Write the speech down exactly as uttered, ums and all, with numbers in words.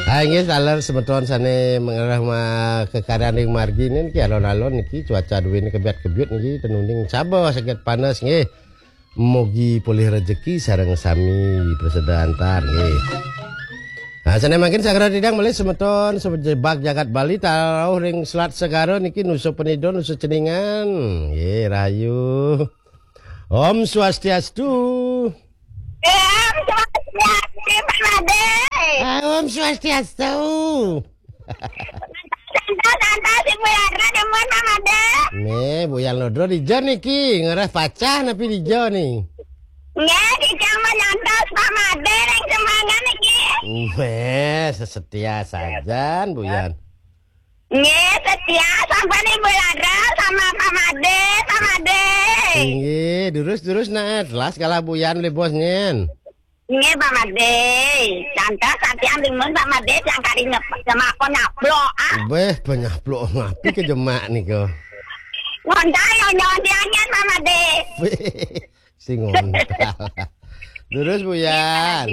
Ah, inggih, taler semeton sane mengerah ma-, kekaryan ring margi niki alon-alon niki cuaca duene kebiat-kebiut niki, ten uning saba saget panes nggih. Mugi polih rejeki sareng sami prasida antar nggih. Nah, sane mangkin sagrang titiang malih semeton sejebag jagat Bali taruh ring Selat Segara niki Nusa Penida, Nusa Ceningan. Nggih, rahayu. Om Swastiastu. Om Swastiastu, Pak Made. Ah, Om Swastiastu. Santos, santos, Ibu Yara, demen, Pak Made. Nih, Bu Yan Lodro dija niki, ngerah pacah napi dija nih. Nggih, dija mah nyantos, Pak Made, ring semangan niki. Weh, sesetia sajan, Bu Yan. Nggih, setia sampun Ibu Lara sama Pak Made, Pak Made. Inggih, durus-durus nah, telas kalah Bu Yan le bos nyen. Nggih, Pak Made. Santos sampun timun Pak Made, yang kali nyep-, nyemak apa nyaplok, ah. Beh, penyaplok ngapi ke jemak nika. Ngontai yang nyawan dianyan, Pak Made. Sing ngontal. Durus Bu Yan.